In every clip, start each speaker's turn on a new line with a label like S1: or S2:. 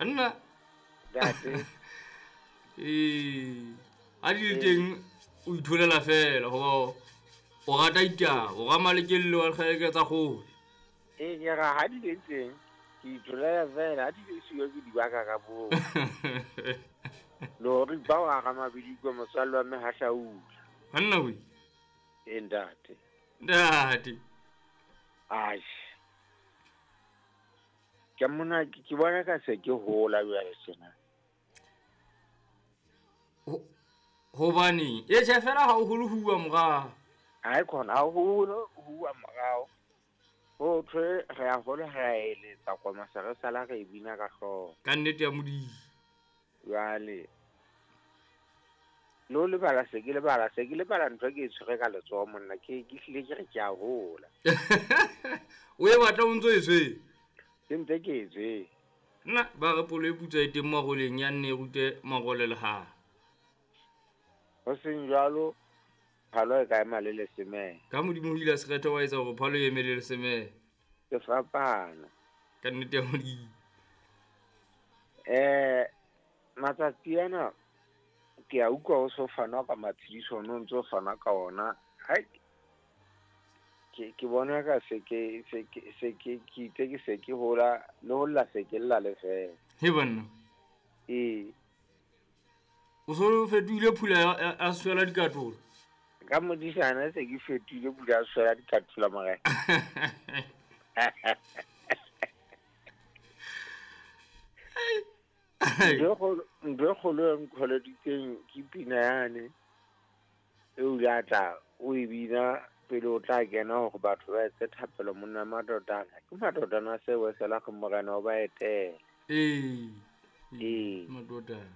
S1: Nna.
S2: Ntate.
S1: Ee, ha di le teng o itholela fela hoba o rata ditaba, o ramalekelle wa dikgeleke tsa kgole.
S2: Ee, ke ra ha di le teng ke itholela fela, ha di le siyo ke di baka ka boo. Le hore ba wa Ramabidikwe motswalle wa mme ha hlaula.
S1: Banna we.
S2: Ee, ntate.
S1: Ntate.
S2: Aish. Ke mona ke bona ka se ke hola jwale tjena.
S1: Hobane e tjhe fela ha o hole huwa morao.
S2: Hai khona ha holo huwa morao. Ho thwe re a hola re a eletsa koma se re sala re e bina ka hlooho.
S1: Ka nnete ya Modimo.
S2: Jwale le ho lebala se ke lebala se ke lebala ntho ke e tshwere ka letsoho monna ke hlile ke re ke a hola.
S1: O e batla o ntso e tshwere?
S2: Ke ntse ke e tshwere.
S1: Nna ba re polo e putswa e teng maroleng ya nne e rute marole le hae.
S2: Ho seng jwalo phalo e ka ema le lesemele.
S1: Ka Modimo o ile a sekgetho wa etsa hore phalo e eme le lesemele.
S2: Ke fapana.
S1: Ka nnete ya Modimo.
S2: Matsatsi ana ke a utlwa ho so fanwa ka matshediso, no ntso fanwa ka ona. Hai, ke bona ka se ke se ke se ke ke itse ke se ke hola le ho lla se ke lla le fela.
S1: He banna.
S2: Ee.
S1: O so fetohile phula ya swela dikatolo.
S2: Ka modisana se ke fetohile phula ya swela dikatolo morena. Ntho kgolo e nkgoleditseng ke pina yane e o ile a tla o e bina pele o tla kena hore batho ba etse thapelo monna madodana. Ke madodana se wesela go morena o ba etele.
S1: Ee.
S2: Ee.
S1: Madodana.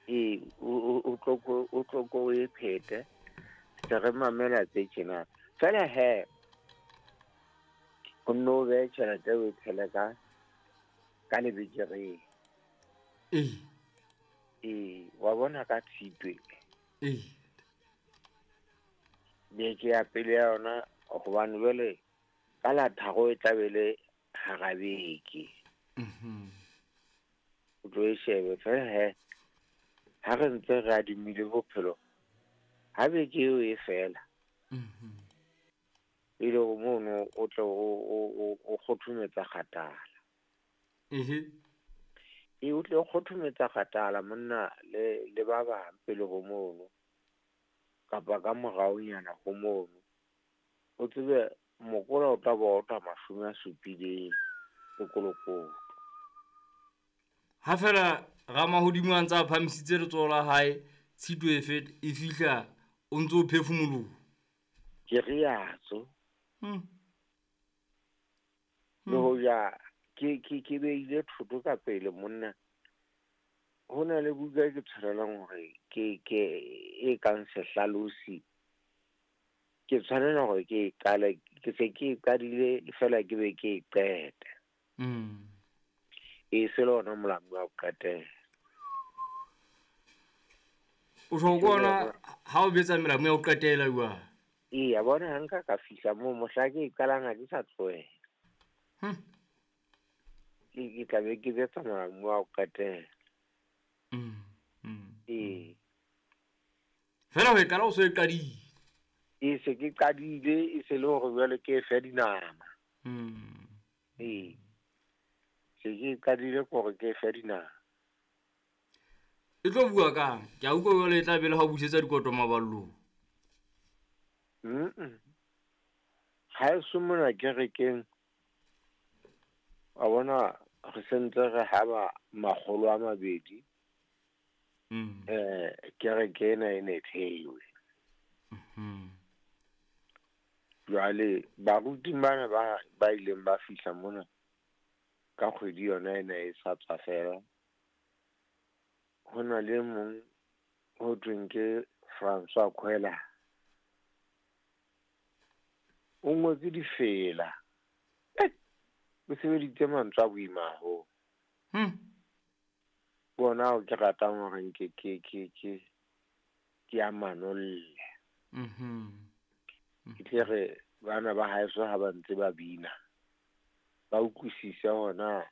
S2: Ee, o tlo ko o e phete. Se re mamela tse tjena. Fela he o nno behe tjhelete o e tshele ka lebekereng.
S1: Ee.
S2: Ee, wa bona ka Tshitwe.
S1: Ee.
S2: Beke ya pele ya yona hobane jwale ka la tharo e tla be le hara beke. O tlo e shebe fela he ha re ntse re adimile bophelo ha beke eo e fela. E le hore mono o tle o kgothometsa kgatala. E o tle o kgothometsa kgatala monna le ba bang pele ho mono kapa ka moraonyana ho mono. O tsebe mokola o tla ba o tla 70 sekolokoto.
S1: Ha fela Ramahodimo a ntse a phahamisitse letsoho la hae, Tshitwe e fihla o ntso o phefumoloha.
S2: Ke riatso. Le hoja ke beile thoto ka pele monna. Ho na le buka e ke tshwanelang hore ke e kang sehlalosi. Ke tshwanela hore ke e qale, ke se ke e qadile fela ke be ke e qete. E se le ona molamu wa ho qetela.
S1: O tjho ke ona ha o betsa melamu ya ho qetela jwang?
S2: Ee, a bona ha nka ka fihla moo mohla ke e qalang ha ke sa tlohela. Ke tla be ke betsa molamu wa ho qetela. Ee.
S1: Fela ho e qala o so e qadile.
S2: E se ke qadile, e se le hore jwale ke e fe dinama. Ee. Se ke qadile hore ke e fe dinama.
S1: E tlo bua kang? Ke a utlwa jwale e tla be le ha o busetsa dikoto maballong.
S2: Ha e so mona kerekeng, wa bona re sentse re haba 200. Kereke ena e ne theiwe. Jwale baruti bana ba ileng ba fihla mona ka kgwedi yona ena e sa tswa fela. Ho na le mong ho thweng ke François Khwela. O ngotse difela. O sebeditse mantswe a boima haholo. Bona o ke ratang hore nke ke a manolle. Ke tle re bana ba haeso ha ba ntse ba bina ba utlwisise hona